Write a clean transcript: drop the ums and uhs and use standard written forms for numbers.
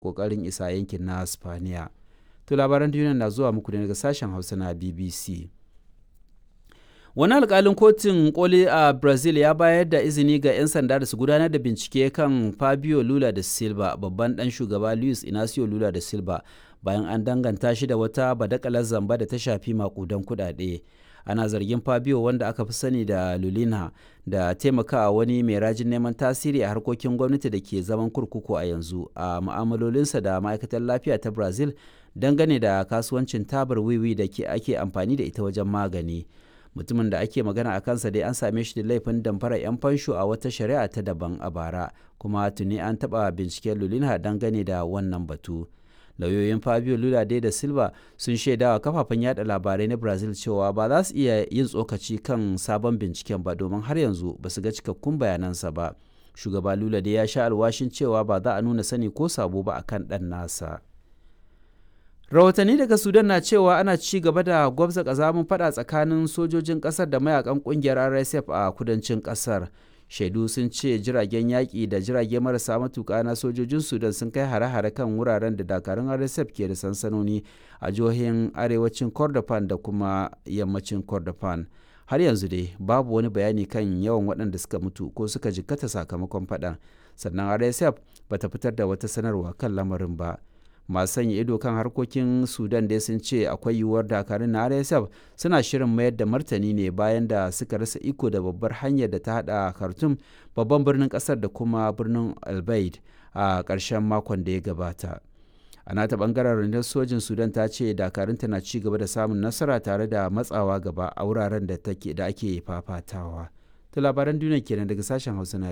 Ƙoƙarin isa yankin na Spaniya. To labaran duniya na zuwa muku ne daga sashen Hausa na BBC. Wani alkalin kotun koli a Brazil ya bayar da izini ga 'yan sanda da su gudanar da bincike kan Fabio Lula da Silva, babban dan shugaba Luis Inacio Lula da Silva, bayan an danganta shi da wata badakalar zamba da ta shafi makudan kudade. Ana zargin Fabio, wanda aka fi sani da Lulina, da taimakawa wani mai rajin neman tasiri a harkokin gwamnati da ke zaman kurkuku a yanzu a mu'amalolinsa da ma'aikatar lafiya ta Brazil dangane da kasuwancin tabar wiwi da ake amfani da ita wajen magani. Mutumin da ake magana a kansa dai an same shi da laifin damfara 'yan fansho a wata shari'a ta daban a bara, kuma tuni an taɓa binciken Lulinha dangane da wannan batu. Lauyoyin Fabio Lula dai da Silva sun shaidawa kafafen yada labarai na Brazil cewa ba za su iya yin tsokaci kan sabon binciken ba domin har yanzu ba su ga cikakkun bayanansa ba. Shugaba Lula dai ya sha alwashin cewa ba za a nuna sani ko sabo ba akan ɗan nasa. Rahotanni daga Sudan na cewa ana ci gaba da gwabza kazamin fada tsakanin sojojin kasar da mayakan kungiyar RSF a kudancin kasar. Shaidu sun ce jiragen yaƙi da jirage marasa matuƙa na sojojin Sudan sun kai hare-hare kan wuraren da dakarun RSF ke da sansanoni a jihohin arewacin Kordofan da kuma yammacin Kordofan. Har yanzu dai babu wani bayani kan yawan waɗanda suka mutu ko suka jikkata sakamakon faɗan. Sannan RSF bata fitar da wata sanarwa kan lamarin ba. Masu sanya ido kan harkokin Sudan dai sun ce akwai yiwuwar dakarun na RSF suna shirin mayar da martani ne bayan da suka rasa iko da babbar hanyar da ta hada Khartoum, babban birnin kasar, da kuma birnin Albaid a ƙarshen makon da ya gabata. A nata bangaren, rundunar sojin Sudan ta ce dakarunta na ci gaba da samun nasara tare da matsawa gaba a wuraren da ake fafatawa. To labaran duniya kenan daga sashen Hausa na